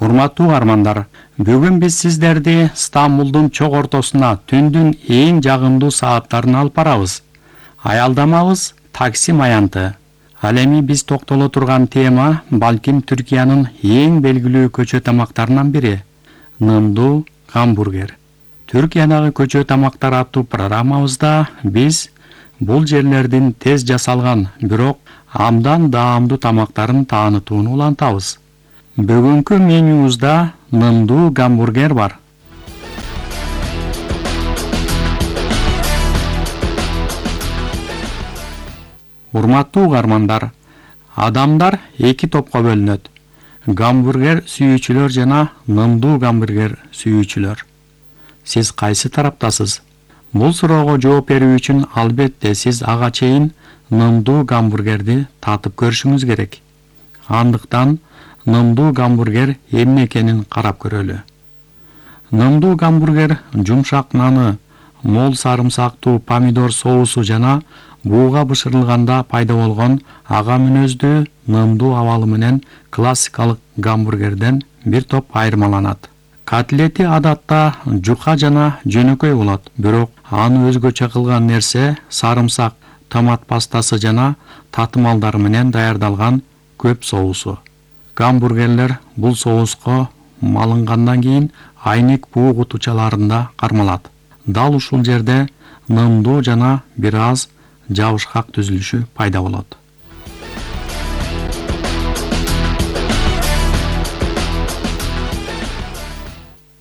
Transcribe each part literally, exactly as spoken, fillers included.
Урматтуу угармандар, бүгүн биз сиздерди Стамбулдун чок ортосуна түндүн эң жагымдуу сааттарына алып барабыз. Аялдамабыз Таксим аянты. Ал эми биз токтоло турган тема балким Түркиянын эң белгилүү көчө тамактарынан бири — нымдуу гамбургер. Түркиядагы көчө тамактар аттуу программабызда биз бул жерлердин тез жасалган, бирок абдан даамдуу тамактарын таанытууну улантабыз. Бүгүнкү менюбузда нымдуу гамбургер бар. Урматтуу угармандар, адамдар эки топко бөлүнөт: гамбургер сүйүүчүлөр жана нымдуу гамбургер сүйүүчүлөр. Сиз кайсы тараптасыз? Бул суроого жооп берүү үчүн албетте сиз ага чейин нымдуу гамбургерди татып көрүшүңүз керек. Андыктан нымдуу гамбургер эмне экенин карап көрөлү. Нымдуу гамбургер жумшак наны, мол сарымсактуу помидор соусу жана бууга бышырылганда пайда болгон ага мүнөздүү нымдуу абалы менен классикалык гамбургерден бир топ айырмаланат. Котлети адатта жука жана жөнөкөй болот, бирок аны өзгөчө кылган нерсе сарымсак, томат пастасы жана татымалдар менен даярдалган көп соусу. Гамбургерлер бул соуско малынгандан кийин айнек буу кутучаларында кармалат. Дал ушул жерде нымдуу жана бир аз жабышкак түзүлүшү пайда болот.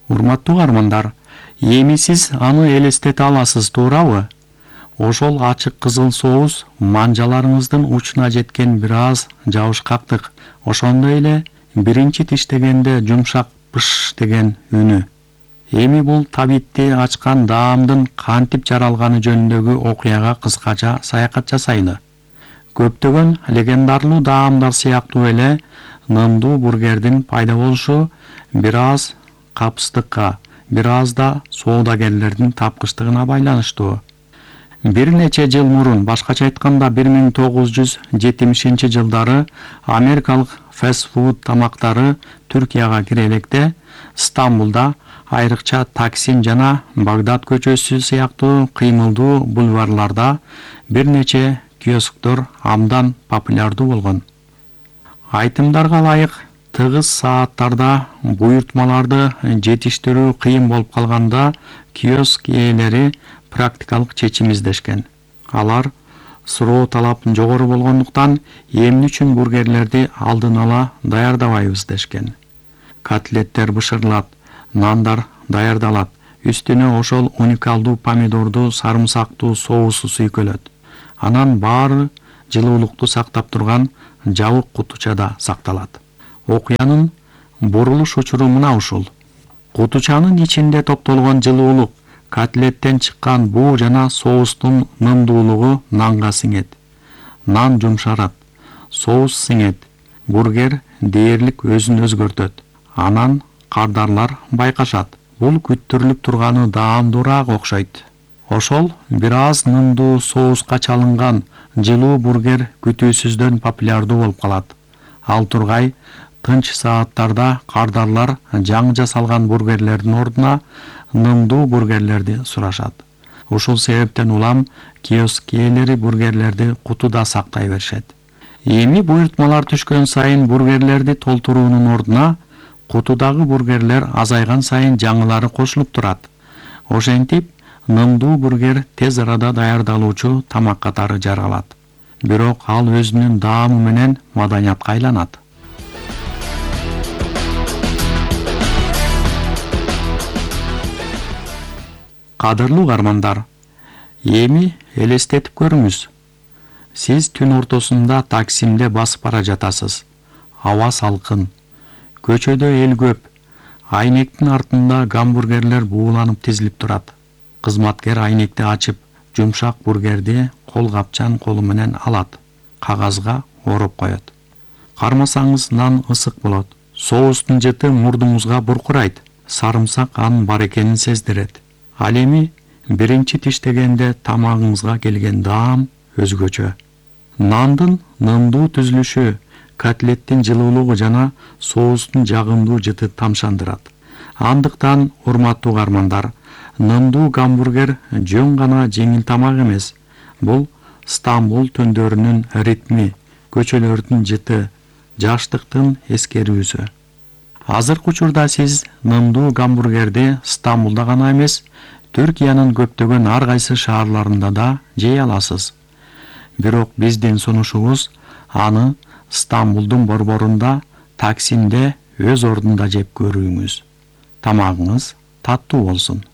Урматтуу угармандар, эми сиз аны элестете аласыз, туурабы? Ошол ачык кызыл соус манжаларыңыздын учуна жеткен бир аз жабышкактык, ошондой эле биринчи тиштегенде жумшак пыш деген үнү. Эми бул табитти ачкан даамдын кантип жаралганы жөнүндөгү окуяга кыскача саякат жасайлы. Көптөгөн легендарлуу даамдар сыяктуу эле нымдуу бургердин пайда болушу бир аз капыстыкка, бир аз да соодагерлердин тапкычтыгына байланыштуу. Бир нече жыл мурун, башкача айтканда бир миң тогуз жүз жетимишинчи жылдары америкалык фастфуд тамактары Түркияга кире электе Стамбулда, айрыкча Таксим жана Багдад көчөсү сыяктуу кыймылдуу бульварларда бир нече киосктор абдан популярдуу болгон. Айтымдарга ылайык, тыгыз сааттарда буйртмаларды жетиштирүү кыйын болуп калганда киоск ээлери практикалык чечим издешкен. Алар суроо талап жогору болгондуктан эмне үчүн бургерлерди алдын ала даярдабайбыз дешкен. Котлеттер бышырылат, нандар даярдалат, үстүнө ошол уникалдуу помидорду сарымсактуу соусу сүйкөлөт. Анан баары жылуулукту сактап турган жабык кутучада сакталат. Окуянын бурулуш учуру мына ушул. Кутучанын ичинде топтолгон жылуулук котлеттен чыккан буу жана соустун нымдуулугу нанга сиңет. Нан жумшарат, соус сиңет, бургер дээрлик өзүн өзгөртөт. Анан кардарлар байкашат. Бул күттүрүлүп турганы даамдуураак окшойт. Ошол бир аз нымдуу соуска чалынган жылуу бургер күтүүсүздөн популярдуу болуп калат. Ал тургай тынч сааттарда кардарлар жаңы жасалган бургерлердин ордуна нымдуу бургерлерди сурашат. Ушул себептен улам киоск ээлери бургерлерди кутуда сактай беришет. Эми буйртмалар түшкөн сайын бургерлерди толтуруунун ордуна кутудагы бургерлер азайган сайын жаңылары кошулуп турат. Ошентип, нымдуу бургер тез арада даярдалуучу тамак катары жаралат. Бирок ал өзүнүн даамы менен маданиятка айланат. Кадырлуу угармандар, эми элестетип көрүңүз. Сиз түн ортосунда Таксимде басып бара жатасыз. Аба салкын, көчөдө эл көп. Айнектин артында гамбургерлер бууланып тизилип турат. Кызматкер айнекти ачып, жумшак бургерди кол капчан колу менен алат, кагазга ороп коет. Кармасаңыз нан ысык болот. Соустун жыты мурдуңузга буркурайт. Сарымсак анын бар экенин сездирет. Ал эми биринчи тиштегенде тамагыңызга келген даам өзгөчө. Нандын нымдуу түзүлүшү, котлеттин жылуулугу жана соустун жагымдуу жыты тамшандырат. Андыктан, урматтуу угармандар, нымдуу гамбургер жөн гана жеңил тамак эмес. Бул Стамбул түндөрүнүн ритми, көчөлөрдүн жыты, жаштыктын эскерүүсү. Азыркы учурда сиз нымдуу гамбургерди Стамбулда гана эмес, Түркиянын көптөгөн ар кайсы шаарларында да жей аласыз. Бирок биздин сунушубуз аны Стамбулдун борборунда, Таксимде өз ордунда жеп көрүүңүз. Тамагыңыз таттуу болсун.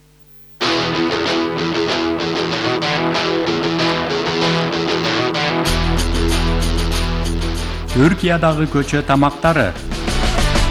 Түркиядагы көчө тамактары